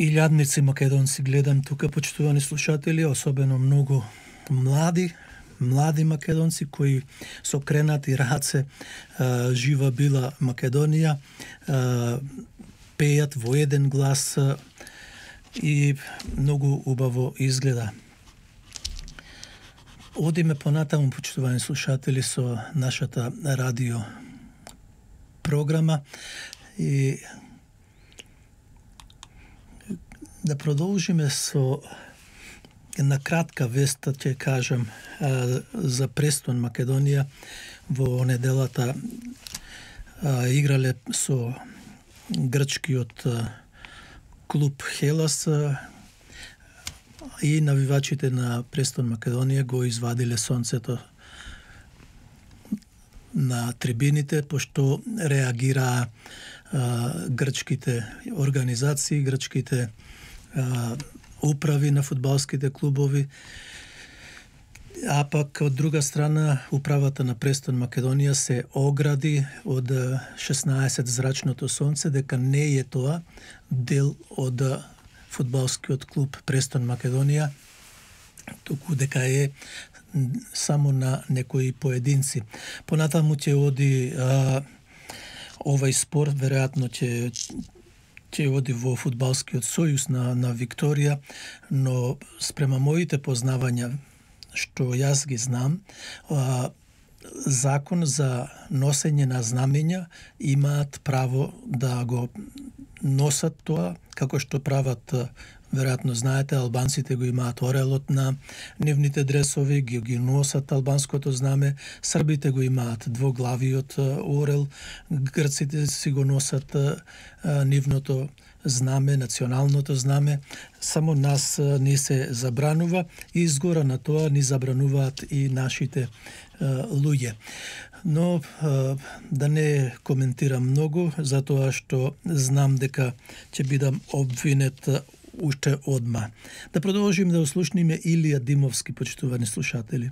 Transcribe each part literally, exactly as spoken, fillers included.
илјадници македонци гледам тука, почитувани слушатели, особено многу млади, млади македонци кои со кренати раце а, жива била Македонија, а, пејат во еден глас а, и многу убаво изгледа. Одиме понатаму, почитувани слушатели, со нашата радио програма и да продолжиме со една кратка вест, ќе кажам, за Престон Македонија. Во неделата играле со грчкиот клуб Хелас и навивачите на Престон Македонија го извадиле сонцето на трибините, пошто реагираа грчките организации, грчките а, управи на фудбалските клубови, а пак од друга страна управата на Престон Македонија се огради од шеснаесет зрачното сонце дека не е тоа дел од фудбалскиот клуб Престон Македонија, туку дека е само на некои поединци. Понатаму ќе оди а, овај спор, веројатно ќе ќе оди во фудбалскиот сојуз на на Викторија, но спрема моите познавања што јас ги знам, а, закон за носење на знамења имаат право да го носат тоа, како што прават, веројатно знаете, албанците го имаат орелот на нивните дресови, ги ги носат албанското знаме, србите го имаат двоглавиот орел, грците си го носат а, нивното знаме, националното знаме. Само нас а, ни се забранува и изгора на тоа ни забрануваат и нашите а, луѓе. Но а, да не коментирам многу, затоа што знам дека ќе бидам обвинет уште одма. Да продолжим да услушниме Илија Димовски, почитувани слушатели.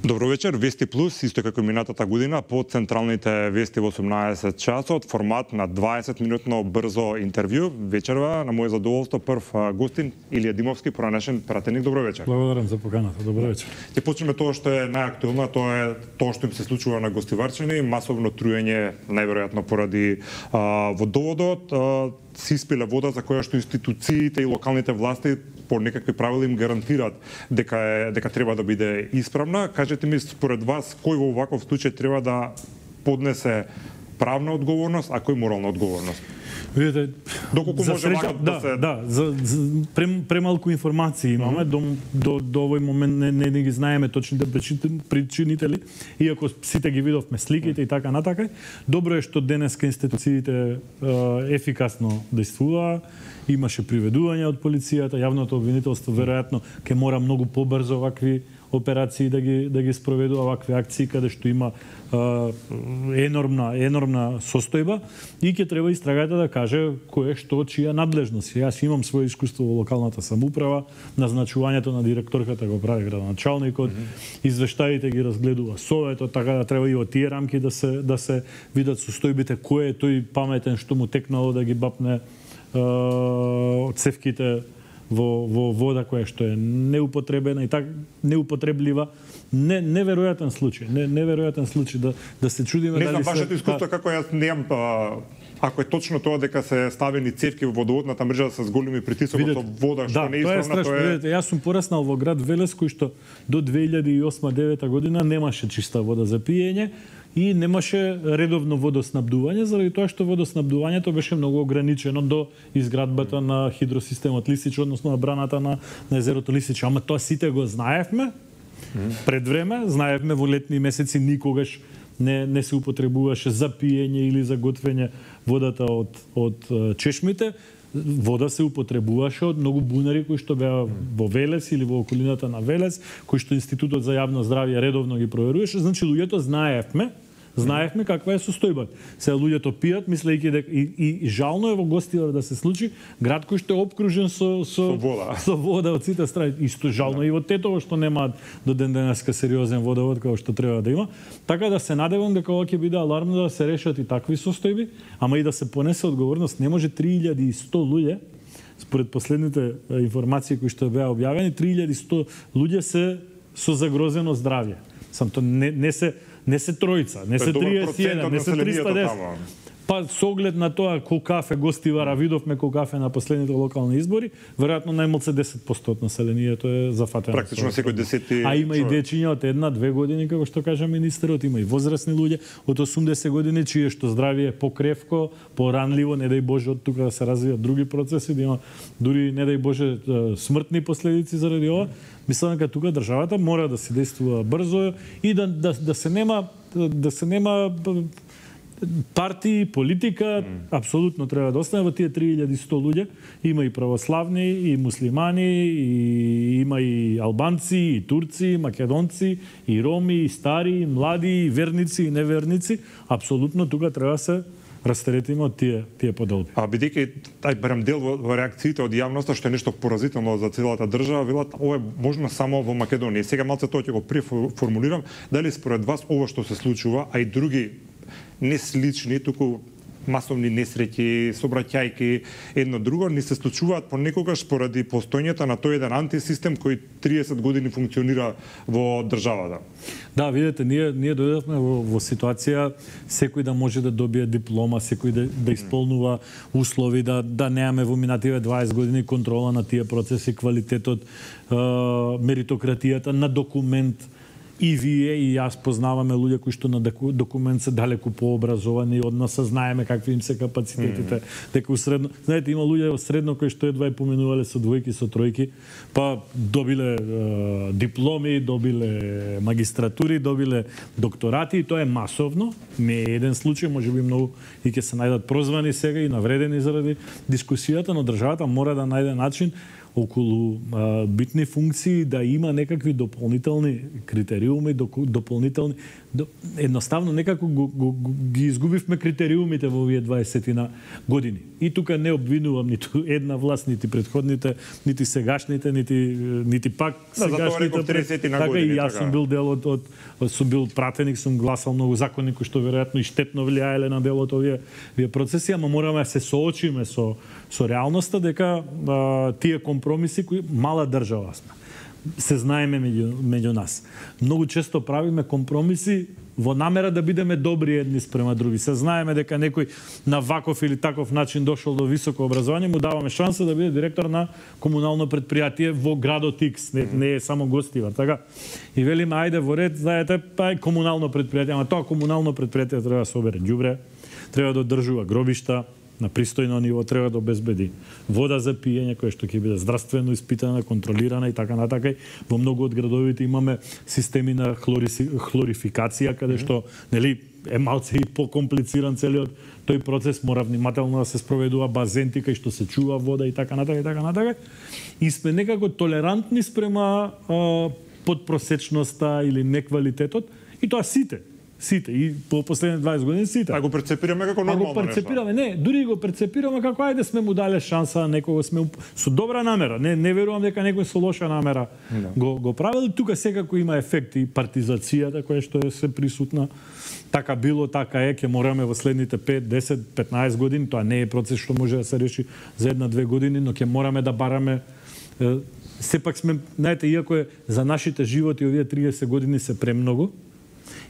Добро вечер, Вести Плюс, исто како минатата година, по централните вести во осумнаесет часот, формат на дваесет минутно брзо интервју. Вечерва, на моје задоволство, прв гостин Илија Димовски, поранешен пратеник. Добро вечер. Благодарам за поканата. Добро вечер. Ќе почнеме тоа што е најактуелно, тоа е тоа што им се случува на гостиварчини, масовно труење, најверојатно поради а, водоводот, а, се испиле вода за која што институциите и локалните власти по некакви правила им гарантираат дека е, дека треба да биде исправна. Кажете ми, според вас, кој во ваков случај треба да поднесе правна одговорност, а кој морална одговорност? Видите, доколку може среќа, вака да, да се... Да, за, за прем, премалку информации имаме, mm -hmm. до, до, до овој момент не, не, не ги знаеме точните причинители, иако сите ги видовме сликите и така натака. Добро е што денеска институциите е, ефикасно действуваа, имаше приведување од полицијата, јавното обвинителство веројатно ќе мора многу побрзо вакви операции да ги да ги спроведува, вакви акции каде што има е, енормна енормна состојба и ќе треба истрагата да каже кое што чија надлежност. Јас имам свое искуство во локалната самоуправа, назначувањето на директорката го прави градоначалникот, mm -hmm. извештаите ги разгледува советот, така да треба и во тие рамки да се да се видат состојбите, кој е тој паметен што му текнало да ги бапне од цевките во, во вода која што е неупотребена и така неупотреблива. Не неверојатен случај, не неверојатен случај да да се чудиме дали се... Не знам вашето искуство, како јас немам, ако е точно тоа дека се ставени цевки во водоводната мрежа с големи притисок од вода што да, не е исправна, тоа е... Видите, јас сум пораснал во град Велес, кој што до две илјади и осма девета година немаше чиста вода за пиење и немаше редовно водоснабдување, заради тоа што водоснабдувањето беше многу ограничено до изградбата на хидросистемот Лисич, односно на браната на, на езерото Лисич. Ама тоа сите го знаевме пред време, знаевме во летни месеци никогаш не, не се употребуваше за пиење или за готвење водата од, од чешмите. Вода се употребуваше од многу бунари кои што беа во Велес или во околината на Велес, кои што Институтот за јавно здравје редовно ги проверуваше. Значи, луѓето знаевме знаевме каква е состојбата. Сега луѓето пијат, мислејќи дека и, и жално е во Гостивар да се случи град кој што е опкружен со со, со вода, со вода од сите страни. Исто жално да. И во Тетово што нема до ден денеска сериозен водовод како што треба да има. Така да се надевам дека ова ќе биде алармно да се решат и такви состојби, ама и да се понесе одговорност. Не може три илјади и сто луѓе, според последните информации кои што беа објавени, три илјади и сто луѓе се со загрозено здравје. Сам то не, не се не се тројца, не се триесет и еден, не се триста и десет. Па со оглед на тоа колку кафе Гостивара видовме колку кафе на последните локални избори, веројатно најмалку десет проценти од населението е зафатено. Практично секој десети. А има и дечиња од една, две години, како што кажа министерот, има и возрастни луѓе од осумдесет години чие што здравје е покревко, поранливо, не дај Боже од тука да се развијат други процеси, да има дури не дај Боже смртни последици заради ова. Мислам дека тука државата мора да се действува брзо и да да да се нема да се нема партии, политика, mm. апсолутно треба да остане во тие три илјади и сто луѓе. Има и православни, и муслимани, и има и албанци, и турци, и македонци, и роми, и стари, и млади, и верници, и неверници. Апсолутно тука треба се растеретиме од тие тие поделби. А бидејќи тај барем дел во, во реакциите од јавноста што е нешто поразително за целата држава, велат ова е можно само во Македонија. Сега малце тоа ќе го преформулирам, дали според вас ова што се случува, а и други не слични, туку масовни несреќи, собраќајки, едно друго, не се случуваат понекогаш поради постојањето на тој еден антисистем кој триесет години функционира во државата. Да, видете, ние ние дојдовме во, во ситуација секој да може да добие диплома, секој да, да исполнува услови, да да немаме во минативе дваесет години контрола на тие процеси, квалитетот, е, меритократијата на документ. И вие и јас познаваме луѓе кои што на документ се далеку пообразовани, од нас знаеме какви им се капацитетите, mm. дека у средно, знаете, има луѓе во средно кои што едва и поминувале со двојки, со тројки, па добиле е, дипломи, добиле магистратури, добиле докторати, и тоа е масовно. Не е еден случај, можеби многу и ќе се најдат прозвани сега и навредени заради дискусијата, но државата мора да најде начин околу а, битни функции да има некакви дополнителни критериуми, дополнителни до, едноставно некако го, го, го, ги изгубивме критериумите во овие дваесетина години. И тука не обвинувам ниту една власт, нити предходните, нити сегашните, нити нити пак да, сегашните. Така години, и јас сум бил дел од, од, од сум бил пратеник, сум гласал многу закони кои што веројатно и штетно влијаеле на дел од овие, овие процеси, ама мораме да се соочиме со со реалноста дека а, тие компромиси кои мала држава сме. Се знаеме меѓу, меѓу нас. Многу често правиме компромиси во намера да бидеме добри едни спрема други. Се знаеме дека некој на ваков или таков начин дошол до високо образование, му даваме шанса да биде директор на комунално предпријатие во градот Икс, не, не е само Гостивар, така. И велиме ајде во ред, знаете, па е комунално предпријатие, ама тоа комунално предпријатие треба да собере ѓубре, треба да одржува гробишта на пристојно ниво, треба да обезбеди вода за пиење која што ќе биде здравствено испитана, контролирана и така натака. Во многу од градовите имаме системи на хлориси, хлорификација каде што нели е малце и покомплициран целиот тој процес, мора внимателно да се спроведува базенти кај што се чува вода и така натака и така натака. И сме некако толерантни спрема а, подпросечноста или неквалитетот, и тоа сите. Сите, и по последните дваесет години сите. А го перцепираме како нормално нешто? А го перцепираме, не, дури го перцепираме како ајде сме му дале шанса на некого, сме со добра намера. Не не верувам дека некој со лоша намера no. го го правил. Тука секако има ефекти, партизацијата која што е се присутна. Така било, така е, ќе мораме во следните пет, десет, петнаесет години, тоа не е процес што може да се реши за една-две години, но ќе мораме да бараме е, сепак сме, знаете, иако е за нашите животи овие триесет години се премногу,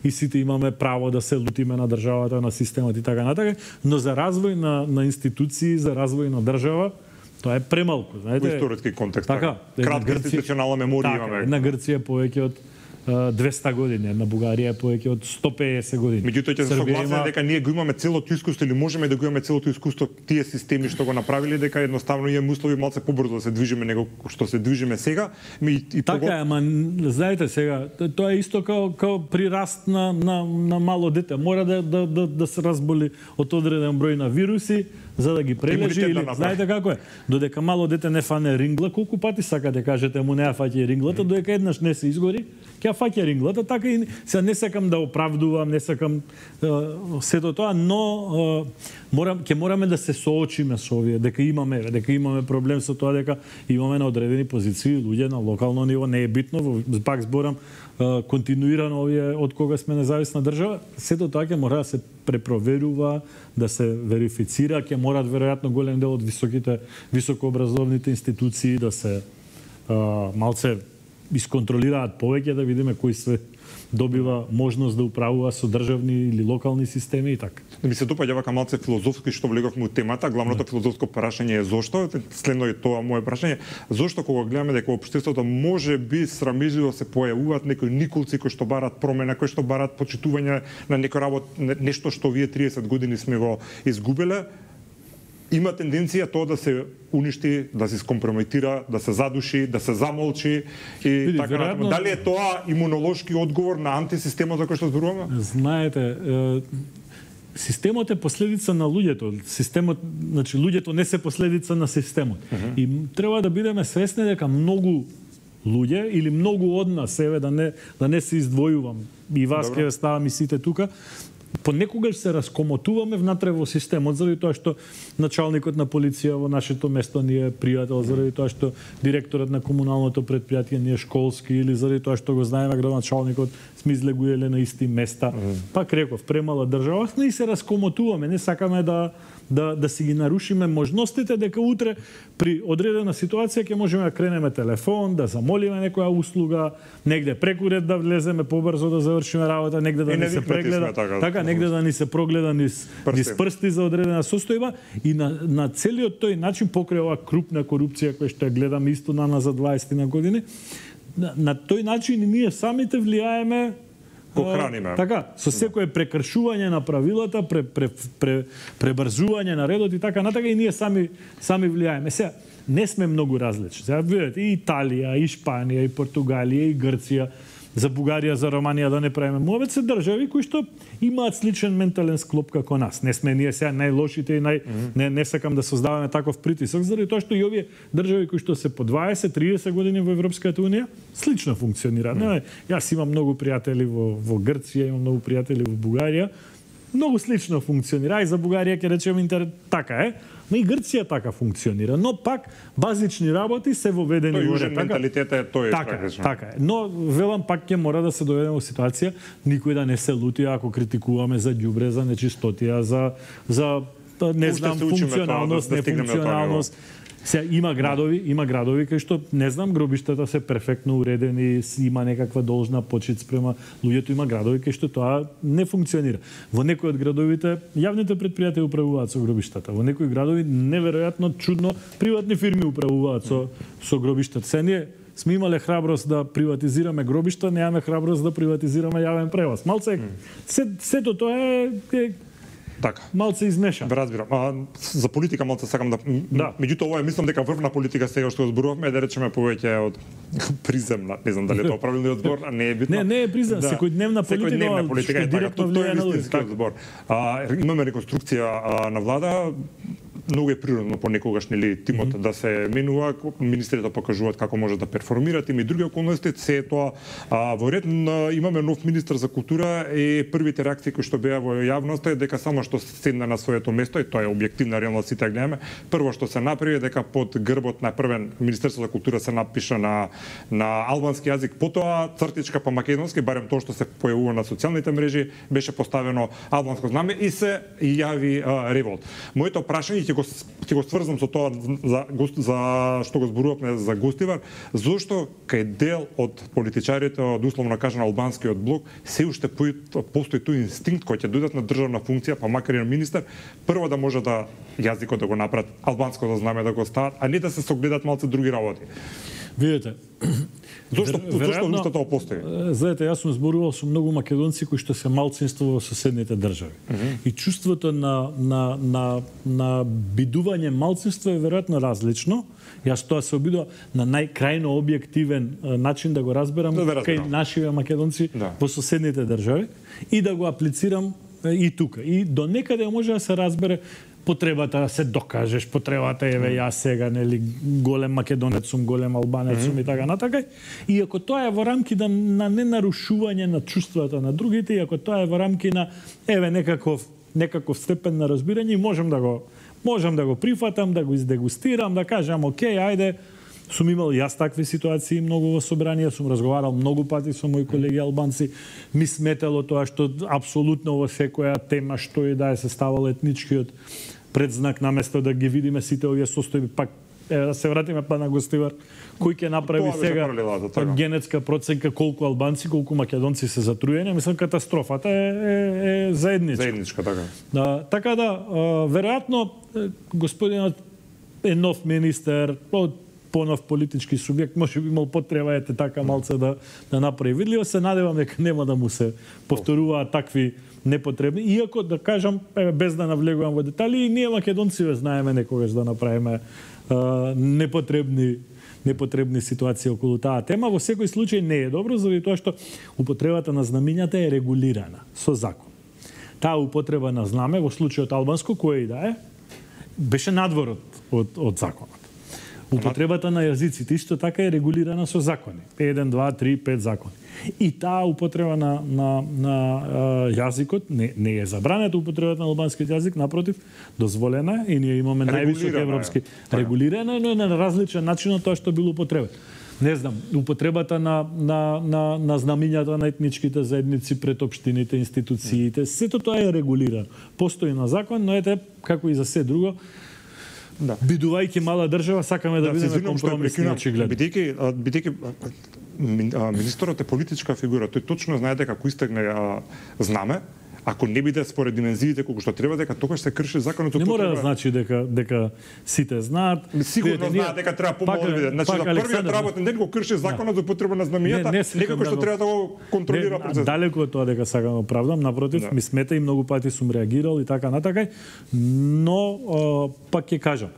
и сите имаме право да се лутиме на државата, на системот и така натака, но за развој на, на институции, за развој на држава, тоа е премалку. Знаете, во историски контекст. Така, кратка институционална меморија така, имаме. Една Грција повеќе од двеста години, една Бугарија е повеќе од сто педесет години. Меѓутоа ќе се согласиме има... дека ние го имаме целото искуство или можеме да го имаме целото искуство тие системи што го направиле, дека едноставно имаме услови малце побрзо да се движиме него што се движиме сега. Ми и така е, ама знаете сега, тоа е исто као као при раст на на на мало дете, мора да да да, да се разболи од одреден број на вируси, за да ги прележи или да знаете како е. Додека мало дете не фане рингла, колку пати сакате кажете му не ја фаќа ринглата, mm. додека еднаш не се изгори, ќе ја фаќа ринглата, така и сега не сакам да оправдувам, не сакам uh, сето тоа, но uh, морам ќе мораме да се соочиме со овие, дека имаме, дека имаме проблем со тоа, дека имаме на одредени позиции луѓе на локално ниво, не е битно, пак зборам континуирано овие од кога сме независна држава, сето тоа ќе мора да се препроверува, да се верифицира, ќе мораат веројатно голем дел од високите високообразовните институции да се а, малце исконтролираат повеќе, да видиме кои се добива можност да управува со државни или локални системи и така. Ми се допаѓа вака малце филозофски што влеговме у темата. Главното филозофско прашање е зошто, следно е тоа моје прашање, зошто кога гледаме дека општеството може би срамежливо се појавуваат некои николци кои што барат промена, кои што барат почитување на некој работ, нешто што вие триесет години сме го изгубеле, има тенденција тоа да се уништи, да се скомпрометира, да се задуши, да се замолчи и Види, така вероятно... Дали е тоа имунолошки одговор на антисистемот за кој што зборуваме? Знаете, е, системот е последица на луѓето. Системот, значи луѓето не се последица на системот. Uh -huh. И треба да бидеме свесни дека многу луѓе или многу од нас, еве да не да не се издвојувам, и вас ќе ставам и сите тука, понекогаш се раскомотуваме внатре во системот, заради тоа што началникот на полиција во нашето место ни е пријател, заради тоа што директорот на комуналното претпријатие ни е школски, или заради тоа што го знаеме градоначалникот, сме излегуеле на исти места. Mm. Пак реков, премала држава, но и се раскомотуваме, не сакаме да да да си ги нарушиме можностите, дека утре при одредена ситуација ќе можеме да кренеме телефон, да замолиме некоја услуга, негде преку ред да влеземе побрзо да завршиме работа, негде да ни се прегледа, така, така негде да ни се прогледа низ низ прсти за одредена состојба и на на целиот тој начин покрај оваа крупна корупција која што ја гледаме исто на на за дваесет на години, на, на тој начин и ние самите влијаеме Похраниме. Така, со секое прекршување на правилата, пре, пре, пре, пребрзување на редот и така натака и ние сами сами влијаеме. Сега не сме многу различни. Сега видите и Италија, и Шпанија, и Португалија, и Грција, за Бугарија, за Романија да не правиме. Мовет се држави кои што имаат сличен ментален склоп како нас. Не сме ние сега најлошите и нај mm -hmm. не не сакам да создаваме таков притисок, заради тоа што и овие држави кои што се по дваесет триесет години во Европската унија слично функционираат. Mm -hmm. Јас имам многу пријатели во во Грција, имам многу пријатели во Бугарија. Многу слично функционира и за Бугарија ќе речеме интер така е. Но и Грција така функционира, но пак базични работи се воведени во ред. Тој менталитет е тој така, така е. Но велам пак ќе мора да се доведеме во ситуација никој да не се лути ако критикуваме за ѓубре, за нечистотија, за за не знам функционалност, да, да нефункционалност. Се има градови, има градови кај што не знам гробиштата се перфектно уредени, има некаква должна почит спрема луѓето, има градови кај што тоа не функционира. Во некои од градовите јавните претпријатија управуваат со гробиштата. Во некои градови неверојатно чудно приватни фирми управуваат со со гробиштата. Се ние сме имале храброст да приватизираме гробишта, немаме храброст да приватизираме јавен превоз. Малце се сето тоа е, е така. Малце измешан. Да разбирам. А, за политика малце сакам да... да. Меѓутоа, ова е, мислам дека врвна политика сега што зборувавме, да речеме повеќе од приземна. Не знам дали е тоа правилниот збор, а не е битно. Не, не е приземна, да. секојдневна политика, секојдневна политика е така. Тоа е вистинскиот збор. А, имаме реконструкција а, на влада. Многу е природно понекогаш нели тимот mm -hmm. да се менува, министрите покажуваат како може да перформираат, има и други околности, се тоа а, во ред на, имаме нов министер за култура и првите реакции кои што беа во јавноста е дека само што седна на своето место и тоа е објективна реалност, сите гледаме, прво што се направи дека под грбот на првен Министерство за култура се напиша на на албански јазик, потоа цртичка по македонски, барем тоа што се појавува на социјалните мрежи, беше поставено албанско знаме и се јави а, револт. Моето прашање ќе го ќе го сврзам со тоа за за што го зборувавме за Гостивар, зошто кај дел од политичарите од условно кажано албанскиот блок се уште постои тој инстинкт кој ќе дојдат на државна функција, па макар и на министер, прво да може да јазикот да го направат, албанско да знаме да го стават, а не да се согледат малце други работи. Видете, зошто зошто уште тоа постои? Знаете, јас сум зборувал со многу македонци кои што се малцинство во соседните држави. Uh -huh. И чувството на на на на бидување малцинство е веројатно различно. Јас тоа се обидувам на најкрајно објективен начин да го разберам, да кај нашиве македонци да. Во соседните држави и да го аплицирам и тука. И до некаде може да се разбере потребата да се докажеш, потребата еве јас сега нели голем македонец сум, голем албанец сум mm -hmm. и така натака. И ако тоа е во рамки да на ненарушување на чувствата на другите, и ако тоа е во рамки на еве некаков некаков степен на разбирање, можам да го можам да го прифатам, да го издегустирам, да кажам окей, ајде, сум имал јас такви ситуации многу во собрание, сум разговарал многу пати со мои колеги албанци, ми сметало тоа што апсолутно во секоја тема што и да е се ставал етничкиот предзнак наместо да ги видиме сите овие состојби, пак е, да се вратиме па на гостивар, кој ќе направи тоа сега па, генетска проценка колку албанци, колку македонци се затруени, мислам катастрофата е, е, е заедничка. Заедничка, така. Да, така да, веројатно господинот е нов министер, од понов политички субјект, може би имал потреба ете така малце да да направи видливо, се надевам дека нема да му се повторуваат такви непотребни, иако да кажам без да навлегувам во детали, и ние македонци знаеме некогаш да направиме а, непотребни непотребни ситуации околу таа тема. Во секој случај не е добро, заради тоа што употребата на знамињата е регулирана со закон. Таа употреба на знаме во случајот албанско, кој и да е, беше надвор од, од законот. Употребата на јазиците исто така е регулирана со закони. еден, два, три, пет закони. И таа употреба на, на, на uh, јазикот не, не е забранета употребата на албанскиот јазик, напротив, дозволена и ние имаме највисок европски е. регулирана, но е на различен начин од тоа што било употреба. Не знам, употребата на, на, на, на знамињата на етничките заедници пред општините, институциите, сето тоа е регулирано. Постои на закон, но ете, како и за се друго, да. Бидувајќи мала држава, сакаме да, да бидеме компромисни, очигледно. Бидејќи бидејќи министерот е политичка фигура, тој точно знае дека ако истегне а, знаме, ако не биде според димензиите колку што треба, дека тогаш се крши законот. Не мора да значи дека дека сите знаат. Сигурно знаат дека треба помало да биде. Значи за првиот работен ден го крши законот за употреба на знамињата, некако што треба да го контролира процесот. Далеку од тоа дека сакам да оправдам, напротив, да. Ми смета и многу пати сум реагирал и така натака, но пак ќе кажам,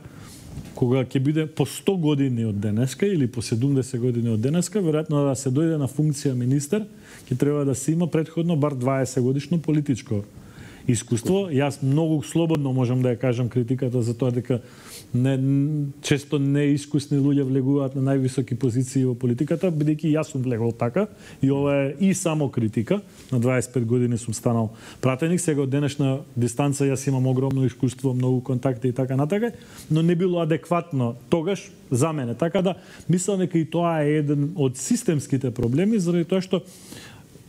кога ќе биде по сто години од денеска или по седумдесет години од денеска, веројатно да се дојде на функција министер, ќе треба да се има претходно бар дваесет годишно политичко искуство. Јас многу слободно можам да ја кажам критиката за тоа дека не, често неискусни луѓе влегуваат на највисоки позиции во политиката, бидејќи јас сум влегол така и ова е и само критика. На дваесет и пет години сум станал пратеник, сега од денешна дистанца јас имам огромно искуство, многу контакти и така натака, но не било адекватно тогаш за мене. Така да мислам дека и тоа е еден од системските проблеми, заради тоа што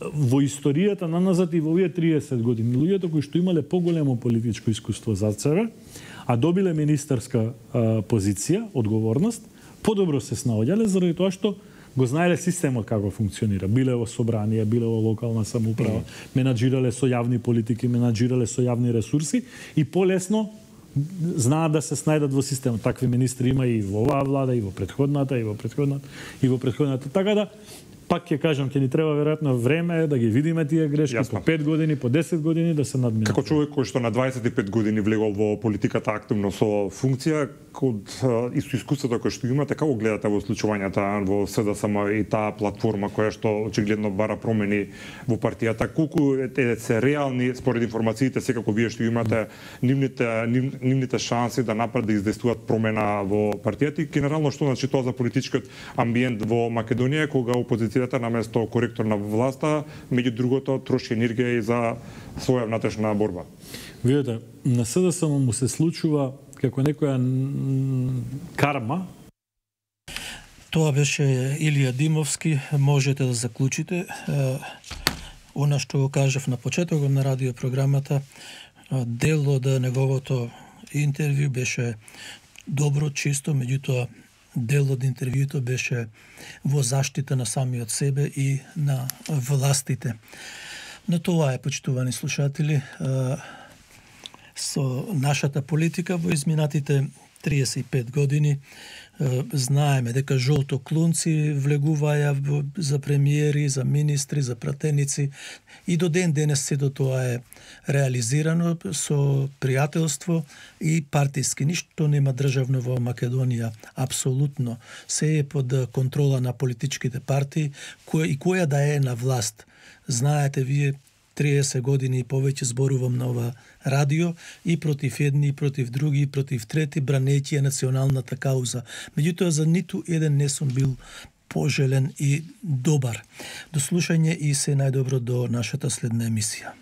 во историјата на назад и во овие триесет години луѓето кои што имале поголемо политичко искуство за себе, а добиле министерска а, позиција, одговорност, подобро се снаоѓале заради тоа што го знаеле системот како функционира. Биле во собрание, биле во локална самоуправа, mm. менаџирале со јавни политики, менаџирале со јавни ресурси и полесно знаат да се снајдат во системот. Такви министри има и во оваа влада, и во претходната, и во претходната, и во претходната. Така да пак ќе кажам, ќе ни треба веројатно време да ги видиме тие грешки. Јасно. По пет години, по десет години да се надминат. Како човек кој што на дваесет и пет години влегол во политиката активно со функција, од исто искуството кој што имате, како гледате во случувањата во СДСМ и таа платформа која што очигледно бара промени во партијата, колку е се реални според информациите секако вие што имате нивните нив, нивните шанси да направат да издействуваат промена во партијата и генерално што значи тоа за политичкиот амбиент во Македонија кога опозицијата наместо коректор на власта, меѓу другото троши енергија и за своја внатрешна борба. Видете, на СДСМ му се случува како некоја карма. Тоа беше Илија Димовски, можете да заклучите. Она што го кажав на почетокот на радиопрограмата, дел од неговото интервју беше добро, чисто, меѓутоа дел од интервјуто беше во заштита на самиот себе и на властите. Но тоа е, почитувани слушатели, со нашата политика во изминатите триесет и пет години. Знаеме дека жолтоклунци влегуваја за премиери, за министри, за пратеници и до ден денес сето тоа е реализирано со пријателство и партиски. Ништо нема државно во Македонија, апсолутно. Се е под контрола на политичките партии која, и која да е на власт. Знаете вие триесет години и повеќе зборувам на ова радио и против едни, и против други, и против трети, бранејќи националната кауза. Меѓутоа, за ниту еден не сум бил пожелен и добар. До слушање и се најдобро до нашата следна емисија.